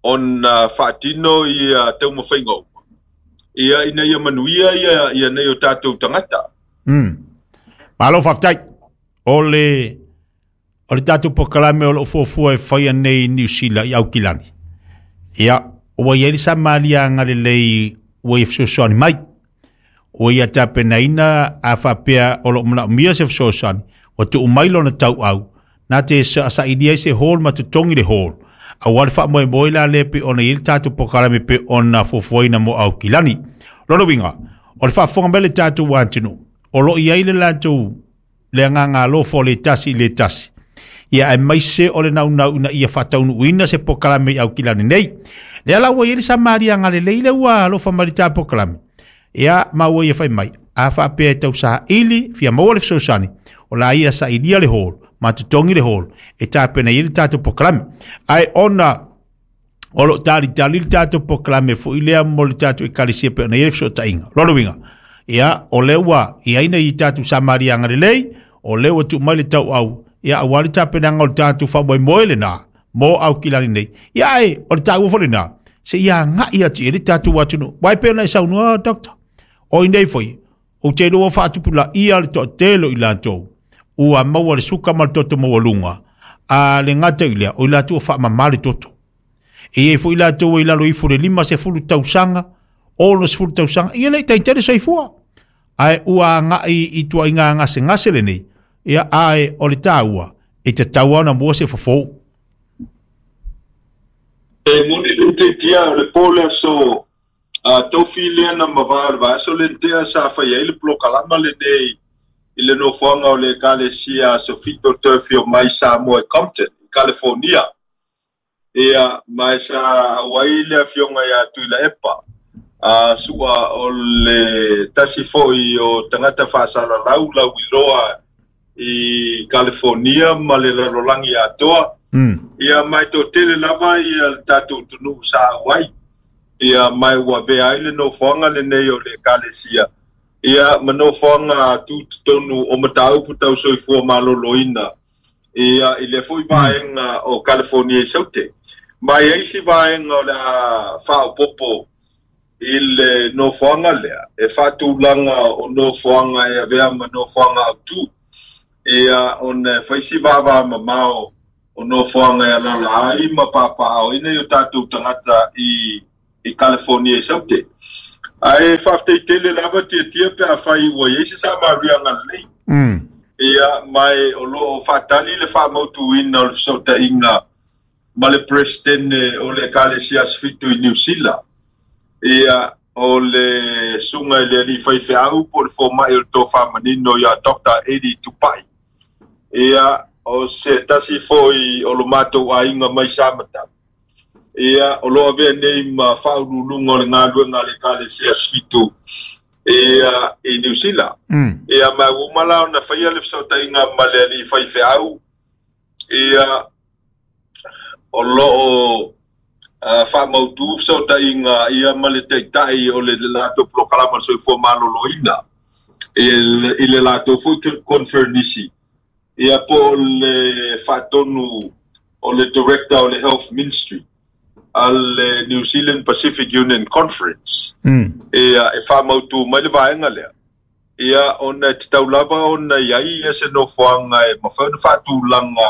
ona faatino ia taumafaiga uma. Ia, ina ia manuia ia, ia nei o tatou tagata. Mm. Malo faafetai. O le o le tatou polokalame o loo fuafua e faia nei i Niu Sila i Aukilani. Ia, ua iai le samaliaga lelei ua ia fesoasoani mai. Ua ia tapenaina a faapea o loo manaomia se fesoasoani, ua tuu mai lona tauau Na te sailia i se hall ma totogi le hall. Auā le faamoemoe la lea pe ona i ai le tatou polokalame pe ona fuafuaina mo Aukilani. Lona uiga, o le faafofoga mai le tatou atunuu, o loo i ai le latou le agaga alofa o le tasi i le tasi. Ia aemaise o le naunau ina ia faataunuuina se polokalame i Aukilani nei. Lea la ua i ai le samaliaga lelei le ua alofa mai le ta polokalame. Ia ma ua ia fai mai, a faapea e tausaili, fia maua le fesoasoani, o la ia sailia le hall, ma totogi le hall, e tapena i ai le tatou polokalame. Ae ona o loo talitali le tatou polokalame foi lea mo le tatou ekalesia pe ona i ai le fesootaiga. Lona uiga, ia o lea ua i ai nei tatou samaliaga lelei, o lea ua tuu mai le tauau, ia auā le tapenaga o le tatou faamoemoe lenā mo Aukilani nei. Ia ae o le taua foi lenā, seia agai atu i ai le tatou atunuu. Uae pei ona e saunoa, Doctor, o i nei foi, ou te iloa faatupulaia le toatele o i latou, ua maua le suka ma le toto maualuga, a le gata i lea, o i latou ua faamamā le toto. E i ai foi latou e i lalo ifo le lima sefulu tausaga, ono sefulu tausaga, ia le i taitele soifua. Ae ua agai i tuaiga gasegase lenei, ia ae o le taua, e tatau lava ona maua se fofo. E moni le tiatia o le po le aso a tofi lea na mavae o le vaiaso le tea sa fai ai le polokalama lenei i le nofoaga o le Ekalesia Aso Fito toe afio mai Samoa i Compton, i California. Ia, ma sa auai le afioga ia Tuilaepa, a sua o le tasi foi o tagata faasalalau lauiloa i California ma le lalolagi atoa. Mm. Ia, ma e toatele lava ia le tatou atunuu sa auai. Ia, ma e ua avea ai le nofoaga lenei o le Ekalesia, ia ma nofoaga tutotonu o mataupu tau soifua maloloina, ia i lea foi vaega o California i Saute. Ma e i ai isi vaega o le a faaopoopo i le nofoaga lea, e faatulaga o nofoaga e avea ma nofoaga autū, ia ona e fai si vavamamao o nofoaga e alaala ai ma papaaoina i o tatou tagata i i California i Saute. Ae faafetai tele lava tiatia pe afai ua i ai se samariaga lelei. Mm. Ia, ma e o loo faatali le faamautuina o le fesootaiga ma le Peresetene o le Ekalesia Aso Fitu i Niu Sila. Ia, o le susuga i le alii faifeau po o le fomai o le tofamanino ia Doctor Eddie Tupai. Ia, o se tasi foi o lo matou aiga mai Samatau. Ia, o loo avea nei ma faauluuluga o le galuega a le Ekalesia Aso Fitu ia, i Niu Sila. Mm. Ia, ma ua uma la ona faia le fesootaiga ma le alii faifeau. Ia, o loo uh, faamautu fesootaiga ia ma le taitai o le latou polokalama o le soifua maloloina i le, i le latou foi conferenisi. Ia, po o le faatonu o le director o le Health Ministry a le New Zealand Pacific Union Conference. Mm. Ia, e faamautu mai le vaega lea. Ia, ona e tatau lava ona i ai ia se nofoaga e mafai ona faatulaga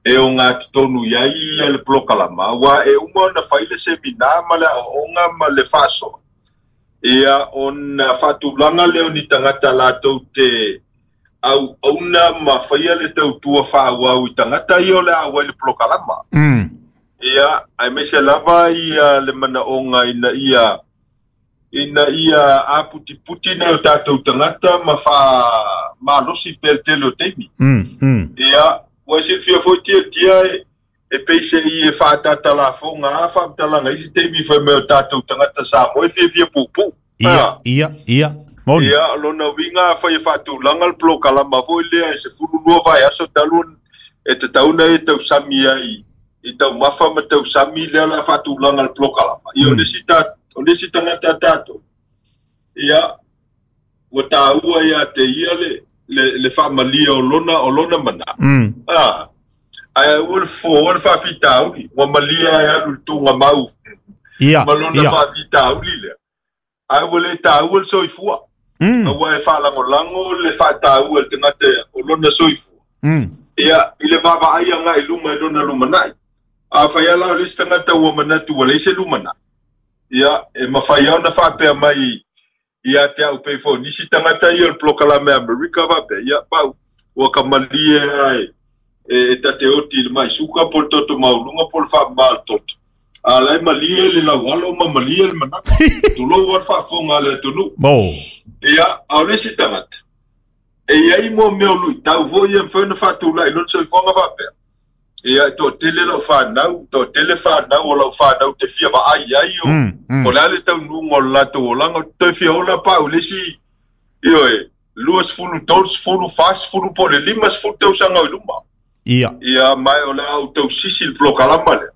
e o ngā totonu i ai ia le polokalama, ua e uma ona fai le semina ma le aoaoga ma le faasoa. Ia, ona faatulaga lea o ni tagata latou te auauna ma faia le tautua faaauau i tagata ia o le a auai le polokalama. Mm. Ia, aemaise lava ia le manaoga ina ia ina ia aputiputi nai o tatou tagata ma faamalosi pea le tele o taimi. Mm. Mm. Ia, ua e silafia foi tiatia e, e peise'i e faatatalafoga a faamatalaga isi taimi fai mai o tatou tagata Samoa e fiafia puupuu. Ia, Ah. ia, ia. Moni. Ia, o lona uiga afai e faatulaga le polokalama foi lea e sefulu lua vaiaso talu e tatau ona e tausami ai i taumafa ma tausami lea o le a faatulaga le polokalama. Ia, o Mm. le isi ta, o le isi tagata tatou, ia, ua taua ia te ia le, le, le faamalia o lona, o lona mana. Mm. Ah, ae ua le fofo le faafitauli, ua malia e alu i le tugamau Ia, ma lona ia. faafitauli lea. Ae ua le taua le soifua. Mm. Aua e faalagolago le faataua e le tagata o lona soifua. Mm. Ia, i le vaavaai agai i luma i lona lumanai. Afai lava la o le isi tagata ua manatu ua leai se lumanai. Ia, e mafai lava ona faapea mai ia te au pei foi nisi tagata ia o le polokalame a Amerika faapea, ia, pau, ua ka malie ae E ta te oti le mai suka po le toto mauluga po le faamamā le toto. A la e malie le laualo ma malie le manaka. Tulou a le faafofoga a le atunuu. Mo. Ia, a o le isi tagata. E iai mo mea o luitau foi e mafai ona faatulai lona soifuaga faapea. Ia, e toatele lau fanau, toatele fanau o lau fanau te fia vaai ai o, Mm, mm. o le a le taunuuga o le latou olaga, toe fia ola paau le isi, ioe, lua sefulu, tolu sefulu, fa sefulu po o le lima sefulu tausaga o i luma. Ia. Ia, mae o le a ou tausisi le polokalama lea.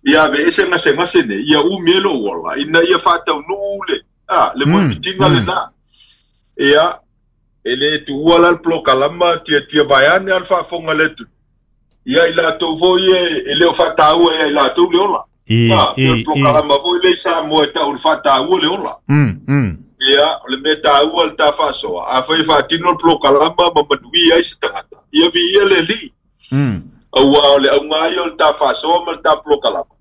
Ia aveese gasegase nei, ia umi ai lou ola, ina ia faataunuu le, a, le Mm, moemitiga mm. lenā. Ia, e lē tuua la le polokalama tiatia vaeane a le faafofoga le atunuu. Ia i latou foi e, e le o faataua ia i latou le ola. I, Ah, i, o le i. polokalama foi lea i Samoa e tau le faataua le ola. Mm, mm. Ia, o le mea taua le ta faasoa. Afai e faatino le polokalama ma manuia ai se tagata. Ia viia le alii. Mm. Auā o le auga ai o le ta faasoa ma le ta polokalama.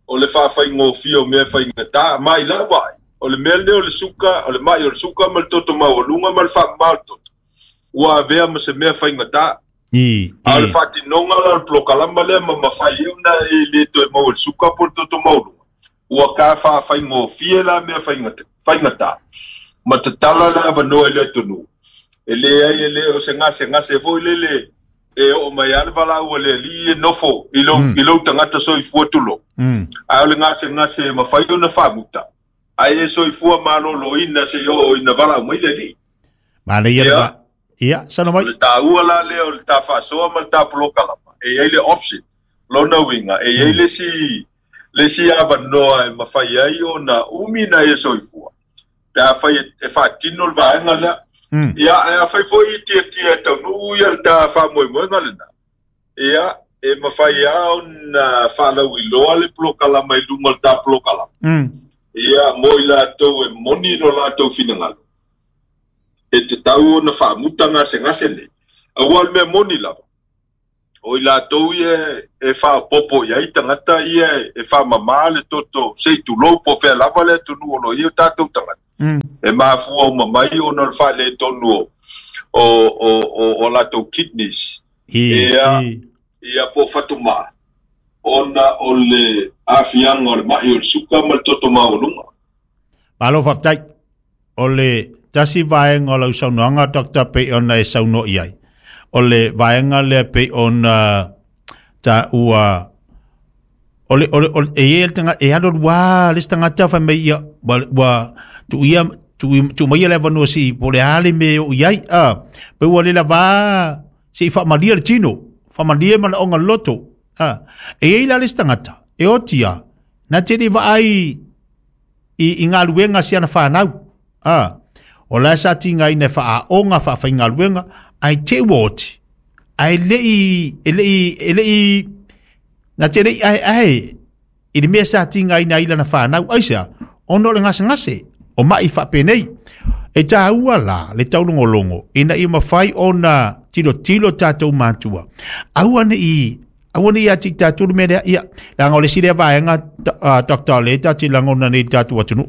O le faafaigofie o mea faigatā. Ma i lau ai. O le mea lenei o le suka, o le mai o le suka ma le toto maualuga ma le faamamā o le toto. Ua avea ma se mea faigatā. I, A o le i. faatinoga la o le polokalama lea ma mafai ai ona e lē toe maua i le suka po o le toto maualuga. Ua ka faafaigofie la mea faigata- faigatā. Ma tatala le avanoa i le atunuu. E leai e lē o se gasegase foi lele e oo mai a le valaau a le alii e nofo i lou, Mm. i lou tagata soifua tulou. Mm. Ae o le gasegase e mafai ona faamuta. Ae e soifua malōlōina se i oo ina valaau mai le alii. Mana ia le Ia. va. Ia, sana O mai. le taua la lea o le ta faasoa ma le ta polokalama. E iai le option. Lona uiga, e iai le isi, le isi avanoa e mafai ai ona umi na e soifua. Pe afai e, e faatino le vaega lea. Mm. Ia, ae afai foi i tiatia e taunuu ia le ta faamoemoega lenā. Ia, e mafai a ona faalauiloa le polokalama i luga o le ta polokalama. Mm. Ia, mo i latou e moni lo latou finagalo. E te tau ona faamuta gasegase nei. Auā o le mea moni lava. O i latou ia e faaopopo i ai tagata ia e faamamā le toto se i tulou po o fea lava le atunuu o lo ia o tatou tagata. Mm. E mafua uma mai ona o le faaletonu o, o, o, o, o latou kidneys. I, Ia. i. Ia po o fatumā. Ona o le aafiaga o le ma'i o le suka ma le toto maualuga. Malo faafetai. O le tasi vaega o lau saunoaga Doctor pei ona e saunoa i ai. O le vaega lea pei ona taua o le o le o le e iai le taga e alu alu a le isi tagata fai mai ia ua ua tuuia tuu tuu maia le avanoa se'i po o le a le mea e oo i ai a pe ua le lavā se'i faamalia le tino faamalia manaoga loto a e iai la le isi tagata e oti a na te le vaai i, i galuega si ana fanau. A, o la sa tigaina e faaaoga faafaigaluega ae te ua oti. Ae le'i, e le'i, e le'i, na te le'i ae ae, i le mea sa tigaina ai lana fanau. Aisea, ona o le gasegase, o ma'i faapenei. E tāua la, le taulogologo, ina ia mafai ona tilotilo tatou matua. Aua ne'i, aua ne'i ia te i tatou le mea lea, ia, leaga o le isi lea vaega, uh, Doctor o lea e tatou te lagona nei i le tatou atunuu.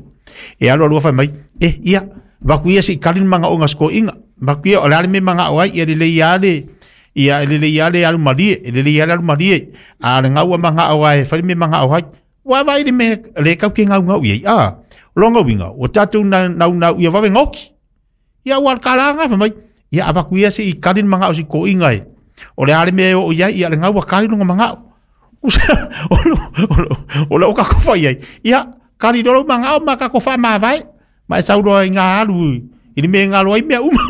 E alu alua fai mai, e, ia, vaku ia se'i kali le magaoga sikoiga. Vaku ia, o le a le mea magao ai, ia lelei a le, ia e lelei a le alu malie, e lelei a le alu malie. A le gaua magao ai, e fai le mea magao ai. Ua vaai le mea, le kau ke gaugau i ai. A, o longa uiga, ua tatou na, naunau ia vave goki. Ia ua le kalaga fai mai, ia avaku ia se'i kali le magao sikoiga e. O le a le mea e oo i ai, ia le gaua kali loga magao. O lo, o lo, o lo o kako fai ai. Ia, kali lolo magao ma kako faamavae. Ma e sauloa i ngā alu, i le mea e galo ai mea uma.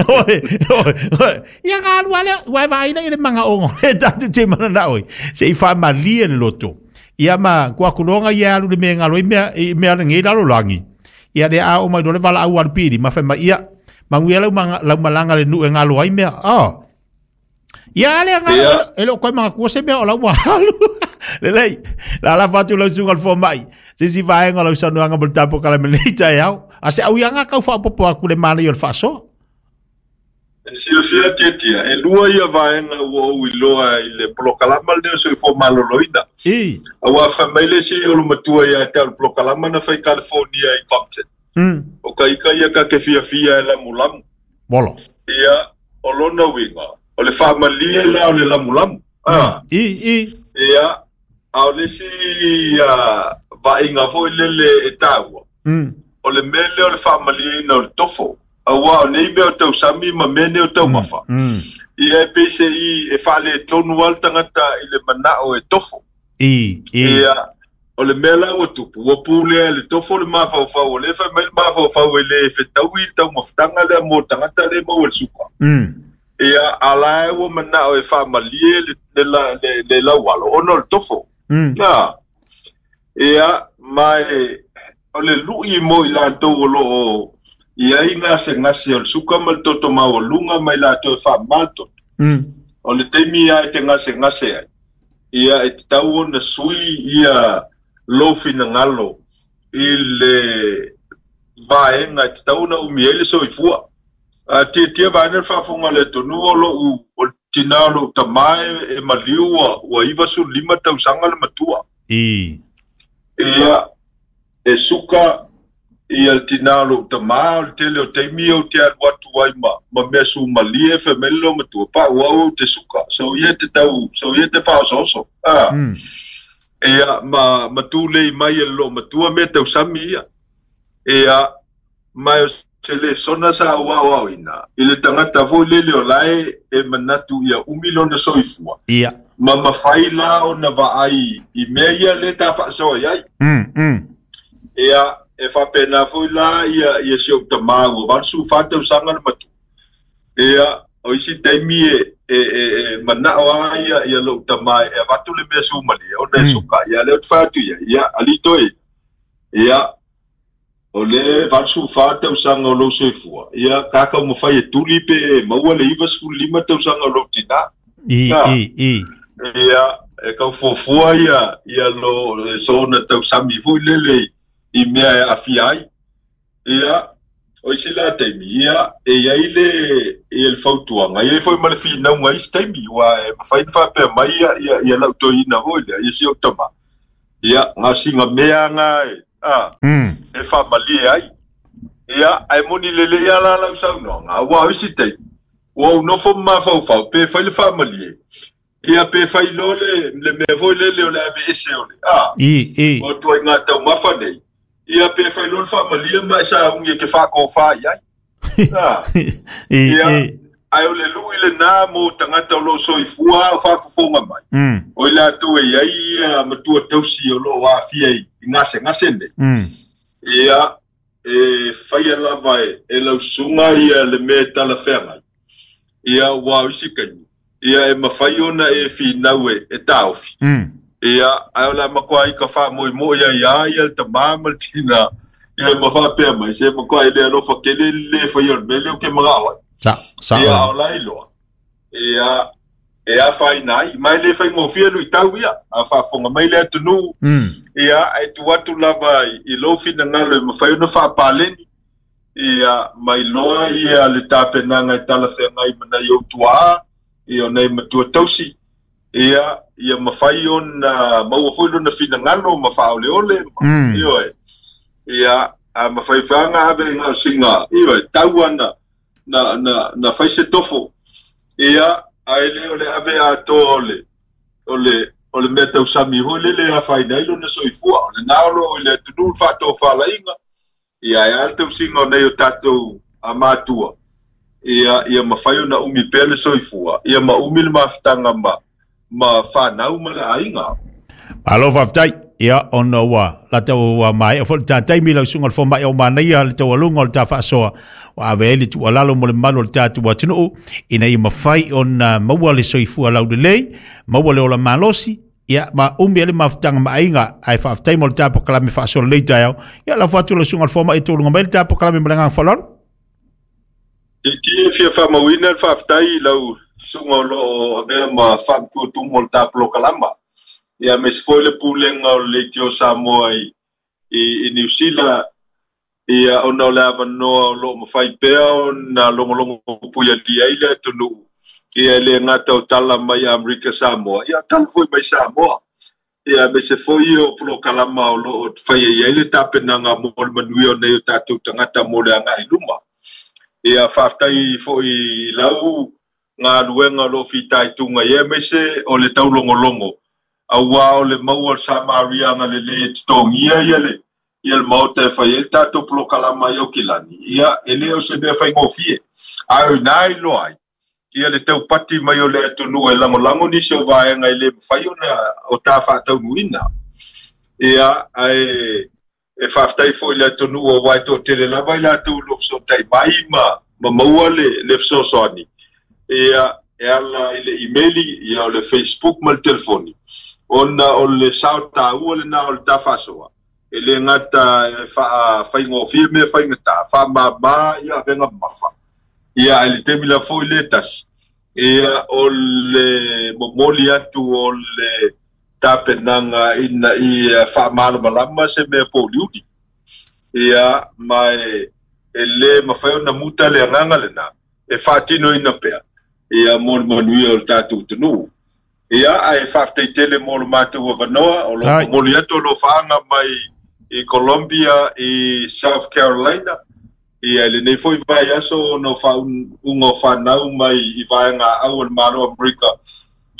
Oi, oi, oi. Ia ngā alu alea, ua e vaai i le magaoga o le tatou te mananao ai. Se'i faamalie le loto. Ia ma kuakuloga ia alu le mea e galo ai mea, i mea lenei lalolagi. Ia le a o mai loa le valaau a le pili, ma fai mai, ia, manuia lau manga, lau malaga le nuu e galo ai mea. Ah. Ia ale ngalo, Ia. e le o koe magatua se mea o lau ua alu. Lelei, la la fatu lau suga le fomai. Se si vaega o lau saunoaga mo le tapokalame lenei taeao. A se auiaga kau faapopo aku le manaia o le faasoa. E silafia tiatia, e lua ia vaega ua ou iloa i le polokalama lenei o soifua malōlōina. I. Auā fai mai le isi o le matua ia te au le polokalama na fai California i Compton. Mm. O ka ika ia ka ke fiafia e lamulamu. Molo. Ia, o lona uiga o le faamalie lea o le lamulamu. Ah. I i Ia a o le isi vaaiga foi lele e taua. Mm. O le mea lea o le faamalieina o le tofo. Auā o nei mea o tausami ma mea nei o taumafa. Mm. Ia e pei se i e faaletonu lava le tagata i le manao e tofo. I i Ia o le mea la ua tupu, ua pulea e le tofo le mafaufau, o lea e fai mai le mafaufau e lē fetaui le taumafataga lea mo le tagata lea e maua i le suka. Mm. Ia a la ua manao e faamalie le, le, le, le laualo ona o le tofo. Mm. Ia, ia ma e o le lu'i mo i latou o loo i ai gasegase o le suka ma le toto maualuga ma i latou e faamama le toto. Mm. O le taimi lava e te gasegase ai, ia e tatau ona sui ia lou finagalo i le vaega e tatau ona umi ai le soifua. A tiatia vaega le faafofoga o le atunuu o lou o le tinā o lou tamā e, e maliu ua, ua iva sulu lima tausaga le matua. I Ia e suka ia le tinā o lou tamā o le tele o taimi ou te alu atu ai ma, ma mea sumalie e fai mai le lou matua pa'u au ou te suka. So ia te tau, so ia te faaosooso. Ah. Mm. Ia ma, ma tulei mai e le loo matua mea tausami ia. Ia ma o se le sona sa auaoaoina i le tagata foi lele o lae e manatu ia umi lona soifua. Ia. Ma mafai la ona vaai i mea ia le ta faasoa ai. Mm. Mm. Ia e faapena foi la ia ia si ou tamā ua valu fa tausaga le matua. Ia o isi taimi e e e, e manao a ia ia lou tamā e avatu le mea sumalie ona e Mm. suka. Ia lea ou te fai atu ia, ia alii toe. Ia o le valu fa tausaga o lou soifua. Ia kākau mafai e tuli pe e maua le iva sefulu lima tausaga o lou tinā. I Ia. i i Ia e kau fuafua ia ia lo sona tausami foi lele i mea e aafia ai. Ia o isi la taimi, ia e iai le ia le fautuaga, ia foi ma le finauga isi taimi, ua e mafai ona faapea mai ia ia ia lau toeaina foi lea, ia si ou tamā. Ia gasiga mea aga e a Mm. e faamalie ai. Ia ae moni lelei lava la lau saunoaga, auā o isi taimi, ua ou nofo ma mafaufau pe fai le faamalie. Ia pe fai loa le le mea foi lele o le aveese o le a I i o tuaiga taumafa nei. Ia pe fai loa le faamalie ma e saugi e te faakofā i ai. A I ia i ae o le lu'i lenā mo tagata o loo soifua o faafofoga mai. Mm. O i latou e iai ia matua tausi o loo aafia i i gasegase nei. Mm. Ia e faia lava e, e lausuga ia le mea e talafeagai. Ia ua o isi kaimi. Ia e mafai ona e finau e, e taofi. Mm. Ia ae o le a makuai ka faamoemoe ai a ia le tamā ma le tinā. Ia ma faapea mai se makuai le alofa kele le faia o le mea lea o ke magao ai. Sa sa Ia o la iloa. Ia e afaina ai mai le faigofie luitau ia a faafofoga mai le atunuu. Mm. Ia e tuu atu lava i, i lou finagalo e mafai ona faapaleni. Ia mai loa ia le tapenaga e talafeagai ma nai ou tuaa, ia o nai matua tausi. Ia ia mafai ona maua foi lona finagalo ma faaoleole. Mm. Ioe. Ia a mafai faga ave i gaosiga, ioe, tau ana na na na fai se tofo. Ia ae le o le ave atoa o le o le o le mea tausami foi lele e afaina ai lona soifua. O lenā o loo i le atunuu le faatofalaiga. Ia e a le tausiga o nei o tatou amatua. Ia ia mafai ona umi pea le soifua. Ia ma umi le mafutaga ma ma fanau ma le aiga. Malo faafetai. Ia ona ua la tau ua mai o foi le tatai mi lau suga le foma'i o manaia le taualuga o le tafaasoa ua ave ai le tuualalo mo le mamalu o le tatou atunuu ina ia mafai ona maua le soifua laulelei, maua le ola malosi, ia ma umi ai le mafutaga ma aiga ae faafetai mo le tapokalame faasoa lelei taeao. Ia lafo atu lau suga le foma'i e toluga mai le tapokalame ma le agaga faaaloalo. Titia e fia faamauina le faafetai i lau suga o loo avea ma faamatuatumu o le tapolokalama. Ia me se foi le pulega o le Leitio Samoa i, i, i Niu Sila. Ia ona o le avanoa o loo mafai pea ona logologo puialia ai le atunuu. Ia e le gata o tala mai Amerika Samoa. Ia tala foi mai Samoa. Ia me se foi o polokalama o loo faia i ai le tapenaga mo le manuia o nei o tatou tagata mo le agai luma. Ia faafetai fo'i lau galuega o loo fitaituga ia aemaise o le taulogologo auā o le maua o le samariaga lelei e totogia ia le ia le maota e fai ai le tatou polokalama ai Aukilani. Ia e lē o se mea faigofie ae o inā iloa ai ia le taupati mai o le atunuu e lagolago nisi o vaega e lē mafai ona o ta faataunuuina. Ia ae e faafetai fo'i le atunuu auā e to'atele lava i latou lo fesoota'i mai ma ma maua le le fesoasoani ia e ala i le imeli ia o le Facebook ma le telefoni ona o le sao tāua lenā o le tafaasoa e lē gata e faafaigofie mea faigata faamāmā ia avega mafa ia ae le taimi la fo'i le tasi ia o le momoli atu o le tapenaga ina ia faamalamalama se mea pouliuli ia ma e e lē mafai ona muta le agaga lenā e faatinoina pea ia mo le manuia o le tatou atunuu. Ia ae faafetai tele mo le matou avanoa o loo momoli atu alofaaga mai i Columbia i South Carolina ia i lenei foi vaiaso ona o faauuga o fanau mai i vaegaau o le Malo Amerika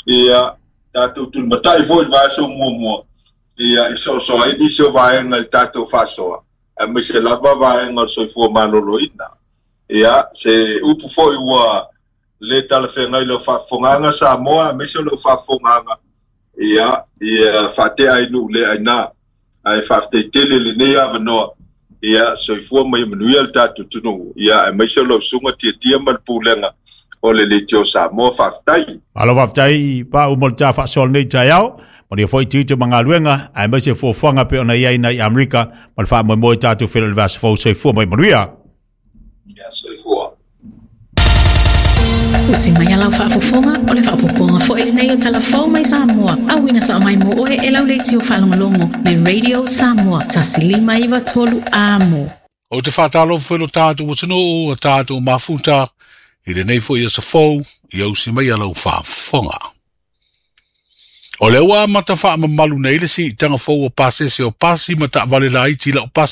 ia tatou tulimata'i foi i le vaiaso muamua ia i soasoa ai nisi o vaega i le tatou faasoa aemaise lava vaega o le soifua maloloina. Ia se upu foi ua lē talafeagai lau faafofogaga Samoa aemaise o lau faafofogaga ia ia faatea ai nuu le ainā ae faafetai tele lenei avanoa ia soifua ma ia manuia le tatou atunuu ia aemaise o lau susuga Tiatia ma le pulega o le Leitio Samoa. Faafetai. Malo faafetai Pau mo le ta faasoa lenei taeao. Manuia foi tiute ma galuega aemaise fuafuaga pei ona i ai nai Amerika ma le faamoemoe tatou feiloai i le vaiaso fou. Soifua ma ia manuia. Ia soifua. Usi mai a lau faafofoga o le faaopoopoga foi lenei o Tala Fou mai Samoa, auina sao mai mo oe e lau leitio faalogologo le Radio Samoa tasi lima iva tolu amo. Ou te faatalofa foi i lo tatou atunuu, a tatou mafuta, i lenei foi aso fou, ia usi mai a lau faafofoga. O lea ua amata faamamalu nei le siitaga fou o pasese o pasi ma taavale laiti laupase.